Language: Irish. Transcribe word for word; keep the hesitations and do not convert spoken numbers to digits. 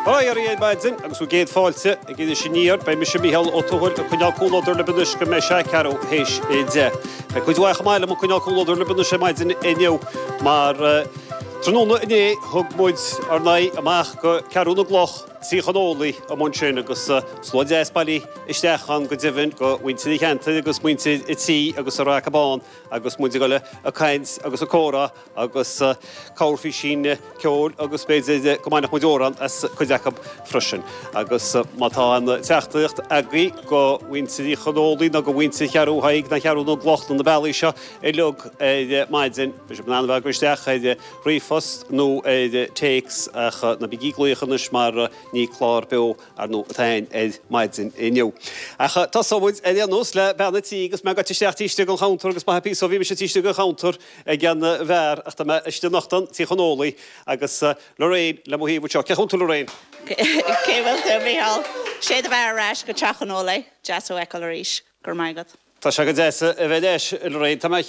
Ar maidin agus bhur gcéad fáilte ag Iris Aniar, beidh mise Mícheál Ó Tuathail ag coinneáil comhluadar libh anois go mbeidh sé ceathrú théis a deich. Beidh cuid mhaith chomh maith liom ag coinneáil comhluadar libh anois ar maidin inniu mar tráthnóna inné thug muid ár n-aghaidh amach go Ceathrú na gCloch Tír Chon Ólaí amuigh ansin agus slua deas bailithe isteach ann go deimhin go mhuintir an cheantair agus muintir an tí agus an Raca Bán agus muid ag dul ag caint agus ag comhrá agus corrphíosín ceoil agus b'fhéidir go mbainfeadh muid amhrán as cuid acu freisin. Agus má tá aon teachtaireacht agaibh go mhuintir Uí Chonólaí nó go mhuintir Cheathrú Thaidhg nó Cheathrú na gCloch nó na bealaí seo uilig ar maidin, beidh sibh in ann a bheith ag isteach ar ríomhphost nó ar téacs ach ná bígí ag glaoch anois mar ní clár beo ar ndóigh atá againn ar maidin inniu. Ach tosóidh muid ar aon nós le bean an tí agus mé ag goil isteach taobh istigh den chuntar agus maith píosa ó bhí mise taobh istigh den chuntar ag an bheár ach tá mé istigh anocht ann Tí Chonólaí agus Lorraine le mo thaobh anseo. Cén chaoi a bhfuil tú Lorraine? Cén chaoi a bhfuil tú Mícheál? Sé do bheatha ar ais go Teach Chonólaí, deas thú a fheiceáil arís, go raibh maith agat. Tá sé go deas a bheith leis Lorraine. Tá mé